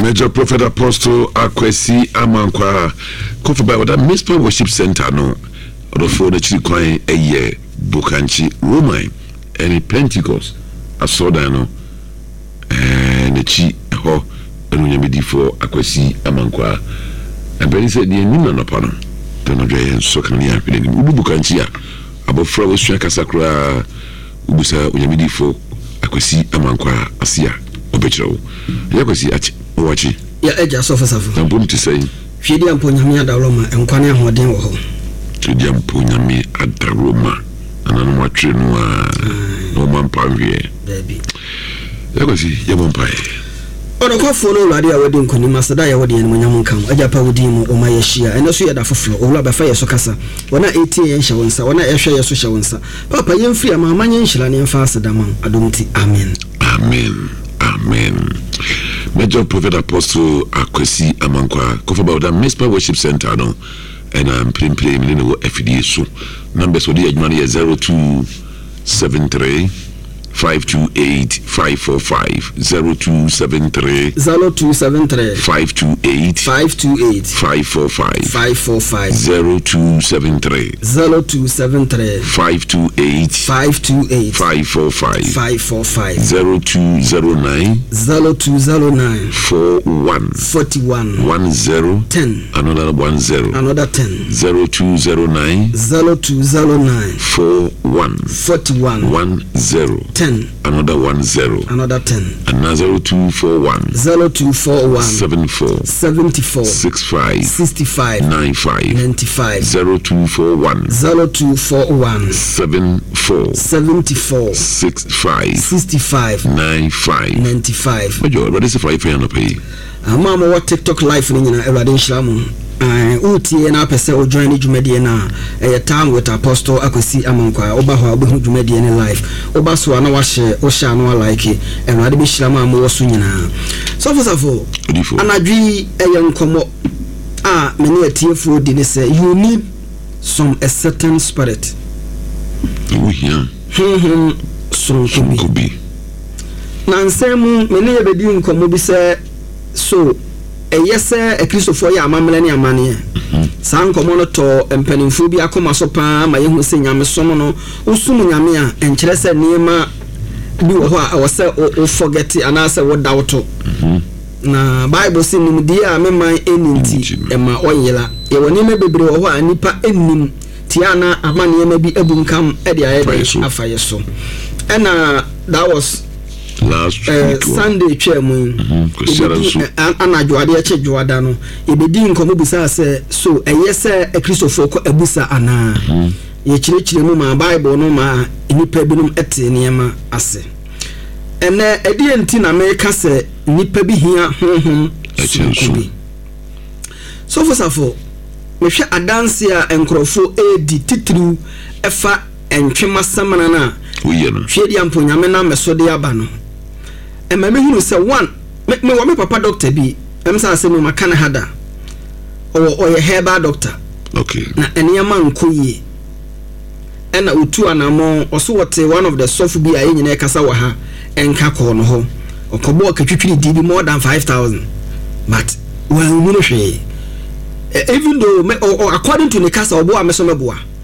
Major Prophet Apostle Akwasi Amankwa Kofi Bai wɔda Mizpah Worship Center no ɔdɔfoɔ n'akyiri kwan yɛ Bokankye Roman ɛne Pentecost asɔrdan no n'akyi hɔ ɛne Onyame difoɔ Akwasi Amankwa mpanin sɛ deɛ nim anɔpa no anadwo yɛn nsɔ kanea hwɛ n'anim. Wodu Bokankye a, abɔfra a wasua kasa koraa, wobusa Onyame difoɔ Akwasi Amankwa ase a, ɔbɛkyerɛ wo. Ɛyɛ Akwasi akye wakye. Yɛ agya sɔfo safo. Na mpom te sɛn? Hwediampo Nyame adaworoma, nkwa ne ahoɔden wɔ hɔ. Hwediampo Nyame adaworoma, nananom atwere no a na wɔn ampa nhweɛ. Daabi. Yɛ Akwasi, yɛbɔ mpaeɛ. Ɔnokwafoɔ ne Awurade a wadi nkonim, aseda a yɛwɔ de animuonyam nka wo. Agya pa, wo din mu, woma yɛahyia. Ɛnnɛ nso yɛ da foforɔ. Owura, bɛfa yɛ so kasa. Wɔn a ɛretie yɛn hyɛ wo nsa. Wɔn a ɛrehwɛ yɛn so hyɛ wo nsa. Paapa, yɛmfiri ama nyɛ nhyira na yɛmfa aseda ma wo. Adom nti, amen. Amen. Amen. Major Prophet Apostle Akwasi Amankwa Kofi Bawda Mizpah Worship Center no ɛna mprempren mene ne wɔ afidie so. Numbers wɔde yɛ adwuma no yɛ 0273 528 545, 0273 0273 528 528 545 545 0273 0273 528 528 545 545 0209 0209 41 41 10 10 another 10 another 10 0209 0209 41 41 10 10 another 10 another 10 another 0241 0241 74 74 65 65 95 95 0241 0241 74 74 65 65 95 95. Major, Awurade sɛ fa yɛfɛ anɔpa yi. Ama a mowɔ TikTok live no nyinaa, Awurade nhyira mo. Wotie na apɛ sɛ wojoin ne dwumadie no a, ɛyɛ Time with Apostle Akwasi Amankwa. Woba hɔ a, wobɛhu dwumadie no live. Woba so a na wahyɛ, wohyɛ a na walike. Awurade bɛhyira mo a mowɔ so nyinaa. Sɔfo Safo, Odifo. Anadwo yi ɛyɛ nkɔmmɔ a me ne atiefoɔ di ne sɛ you need some a certain spirit. Wohia honhom soronko bi. Sonko bi. Na nsɛm mu me ne yɛbɛdi nkɔmmɔ bi sɛ so ɛyɛ sɛ Akristofoɔ yɛ amammerɛ ne amanneɛ. Saa nkɔmmɔ no tɔ mpanimfoɔ bi akoma so paa ma yɛhu sɛ nyamesom no, wosom Nyame a, ɛnkyerɛ sɛ nneɛma bi wɔ hɔ a ɛwɔ sɛ wo forget anaasɛ woda wo to. Na Bible sɛ nimdeɛ a me man ɛni nti ɛma ɔnyera. Yɛwɔ nneɛma bebree wɔ hɔ a nnipa nnim tia na ama nneɛma bi abunkam de ayɛ dɛn afa yɛ so. Ɛna that was last week Sunday twaa mu yi, yɛbɛdi anadwo adeɛ kye dwoada no, yɛbɛdi nkɔmmɔ bisaa sɛ so ɛyɛ sɛ Akristofoɔ kɔ abusa anaa. Yɛkyerɛkyerɛ mu ma Bible no ma nnipa binom te nneɛma ase. Ɛnɛ ɛdeɛ nti na meka sɛ nnipa bi hia honhom sononko bi. Sɔfo Safo, mehwɛ adanse a nkurɔfoɔ ɛredi titiriw ɛfa ntwema samina no a woyɛ no Hwediampo Nyame nam me so de aba no, ɛma mehunu sɛ one, mewɔ me papa doctor bi, ɛm sɛ asɛm mu maka ne ha da, ɔwɔ ɔyɛ herbal doctor. Na nneɛma nkɔ yie ɛna otu anammɔn ɔso wɔte one of the sɔfo bi a yɛn nyinaa kasa wɔ ha ɛnka kɔɔ no hɔ, ɔkɔbɔɔ katwitwiri di bi more than 5,000 but wɔanhunu hwee. Even though me, according to ne kasa, ɔboa me so mɛboa.